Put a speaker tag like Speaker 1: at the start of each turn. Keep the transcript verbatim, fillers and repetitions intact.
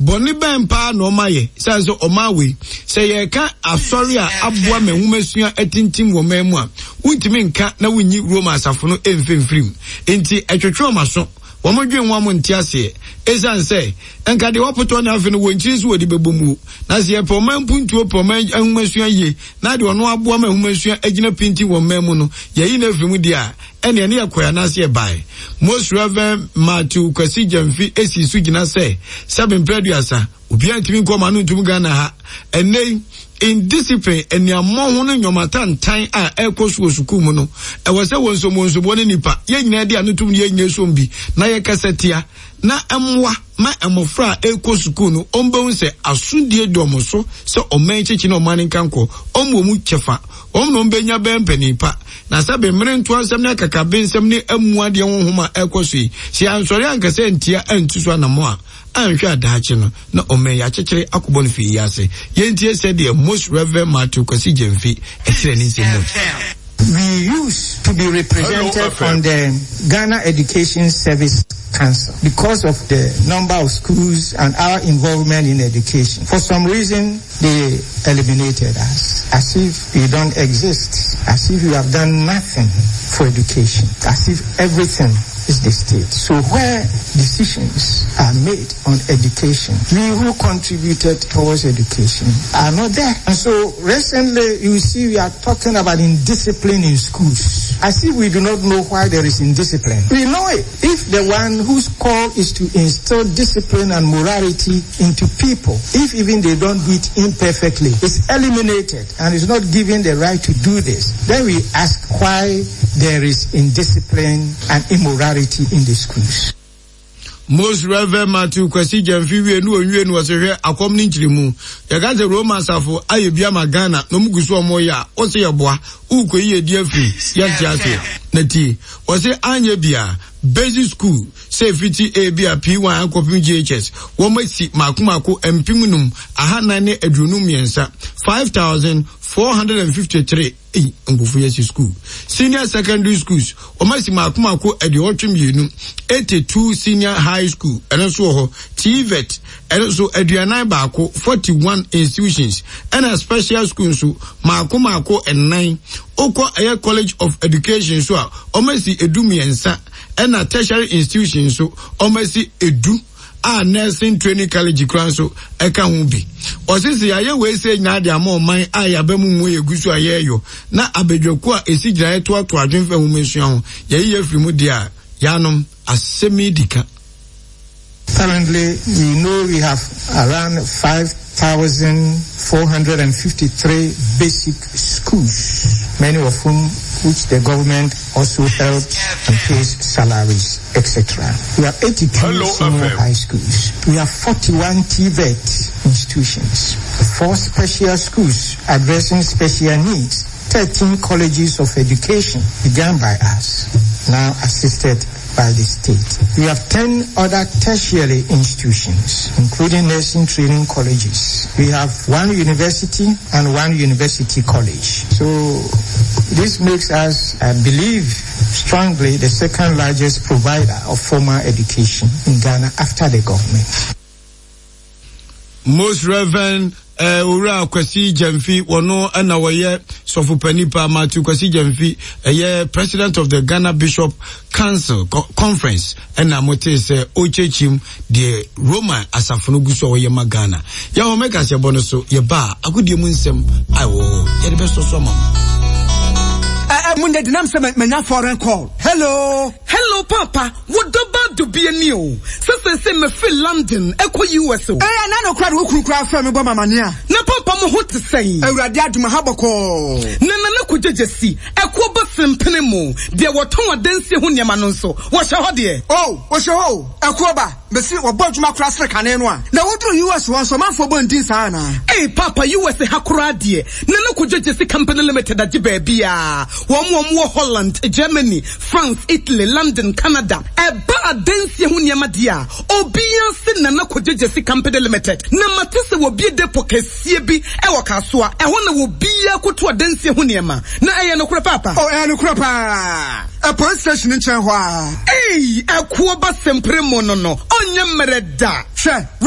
Speaker 1: Bɔne bɛn paa na ɔma yɛ sane sɛ ɔma wei sɛ yɛka asɔre a aboa ma nwomasua atintim wɔ man mu a, wontumi nka na wonyi Roma asafo no ɛmfimfirim. Enti ɛtwetwe ɔma so, wɔn dwen wɔn mo nte aseɛ, ɛsiane sɛ nka deɛ wɔpotɔ ne afe no wɔn nkyiri so wɔde bɛbɔ mu. Na sɛ yɛpɛ ɔman mpuntuo, pɛ ɔman ahomasua yie, na deɛ ɔno aboa ma ahomasua agyina pintin wɔ mman mu no, yɛyi no afiri mu deɛ a, ɛne ɛne yɛkɔɛ anaasɛ yɛbae. Most Reverend Matthew Kwasi Gyamfi esi so gyina sɛ sɛbe mpɛ aduasa obiara ntumi nkɔ ɔma no ntum Ghana ha. Ɛnɛ yi indiscipline, aniammɔ ho no, nnwɔmatantan a ɛrekɔ so wɔ sukuu mu no, ɛwɔ sɛ wɔn nsom wɔn nsoboɔ ne nipa yɛn nyinaa di ano tum ne yɛn nyinaa som bi na yɛkasa tia na mmoa ma mmɔfra a ɛrekɔ sukuu no ɔmbɛhu sɛ asodie dɔm so sɛ ɔman kyekye na ɔman nkankɔ ɔmo wɔ mu kyɛfa, wɔn na ɔmbɛnya bɛn mpanin pa. Na sɛ bemmere ntoa nsɛm ne akakabe nsɛm ne amua deɛ honhom a ɛrekɔ so yi, sɛ yɛansɔre ankasa ntia antu so anammɔ a, anhwɛ adaakye no na ɔman yi akyekyere akɔbɔ no fii yi ase. Yɛntie sɛdeɛ Most Reverend Matthew Kwasi Gyamfi ɛkyerɛ ne nsɛm mu.
Speaker 2: We used to be represented on the Ghana Education Service Council because of the number of schools and our involvement in education. For some reason, they eliminated us, as if we don't exist, as if we have done nothing for education, as if everything is the state. So where decisions are made on education, we who contributed towards education are not there. And so recently, you see we are talking about indiscipline in schools, as if we do not know why there is indiscipline. We know it. If the one whose call is to instill discipline and morality into people, if even they don't do it imperfectly, is eliminated and is not given the right to do this, then we ask why there is indiscipline and immorality in the schools.
Speaker 1: Most Reverend Matthew Kwasi Gyamfi wie no, onwie no, wɔsɛ hwɛ akɔm ne nkyerɛmu. Yɛka sɛ Roma asafo ayɛ bi ama Ghana na ɔmu gu so ɔmo yɛ a, wɔsɛ yɛboa wokɔ yi yɛdi afiri yɛnte aseɛ. Na tie, wɔsɛ anyɛ bia basic school sɛ efiti A bi a P one akɔpem J H S, wɔn asi mako mako mpem num ahanan ne aduonu mmiɛnsa, five thousand four hundred and fifty three. Eyi nkofo yɛ si school. Senior secondary schools, wɔn asi mako mako aduɔwɔtwe mmienu, eighty two. Senior high school ɛno nso wɔ hɔ. T V E T ɛno nso aduanan baako, forty one institutions. Ɛna special school nso mako mako nnan. Okɔ ɛyɛ College of Education so a, wɔn asi edu mmiɛnsa. Ɛna tertiary institution nso wɔn asi edu a nursing training college kura nso ɛka ho bi. Ɔsisi yɛayɛ wei sɛ nyinaa de ama ɔman a yɛaba mu mu yɛgu so a yɛreyɔ na abadwakuo a ɛsi gyinaeɛ toatoa adwemfa nwoma nsua ho yɛyi yɛ firi mu deɛ a, yɛanom asɛm yi di ka.
Speaker 2: Currently, we know we have around five thousand four hundred fifty-three basic schools, many of whom which the government also helps and pays salaries, et cetera. We have eighty-two
Speaker 3: Hello,
Speaker 2: senior
Speaker 3: F M.
Speaker 2: high schools. We have forty-one T V E T institutions, four special schools addressing special needs, thirteen colleges of education begun by us, now assisted by the state. We have ten other tertiary institutions, including nursing training colleges. We have one university and one university college. So this makes us, I believe strongly, the second largest provider of formal education in Ghana after the government.
Speaker 1: Most Reverend eh, Owura Kwasi Gyamfi, wɔno ɛna wɔyɛ sɔfo pa Matthew Kwasi Gyamfi, ɛyɛ president of the Ghana Bishop Council Co Conference, ɛna mote sɛ ɔkyerɛkyerɛm deɛ Roman asafo no gu so a wɔyɛ ma Ghana. Yɛwɔ mɛka sɛ yɛbɔ no so yɛba a, agodie mu nsɛm a ɛwɔ hɔ yɛde bɛsɔ so ama mo.
Speaker 4: Ɛ mu ndɛ denam sɛ manya foreign call. Hello?
Speaker 5: Hello, Papa. Wo dɔba dubie ni o. Sɛ sɛ sɛ mefiri London ɛkɔ U S o.
Speaker 4: Ɛyɛ na no kora de wo kunu kora frɛ me bɔ mamane a.
Speaker 5: Na papa, mo ho te sɛn?
Speaker 4: Awurade adom, ha bɔkɔɔ.
Speaker 5: Na Nana Kogyegye si ɛkoɔ ba sempene mu deɛ wɔtɔn adansie ho nneɛma no nso wɔhyɛ hɔ deɛ.
Speaker 4: O, wɔhyɛ hɔ o. Ɛkoɔ ba mesi wɔbɔ adwuma kora sere kane no a na woduru U S hɔ nso, ɔmanfoɔ bɔ ndin saa anaa?
Speaker 5: Ei Papa, U S ha koraa deɛ, Nana Kogyegye si Company Limited agye baabi a wɔn wɔn wɔ Holland, Germany, France, Italy, London, Canada. Ɛba adansie ho nneɛma deɛ a, obiara se Nana Kogyegye si Company Limited. Na mate sɛ wɔbie depo kɛseɛ bi ɛwɔ Kasoa ɛhɔ na wɔbiara koto adansie ho nneɛma. Na ɛyɛ nokorɛ, Papa?
Speaker 4: O, ɛyɛ nokorɛ paa. Ɛ police station nkyɛn hɔ a.
Speaker 5: Ei, ɛkoɔ ba sempere mu no no ɔnyɛ mmerɛ da.
Speaker 4: Hwɛ.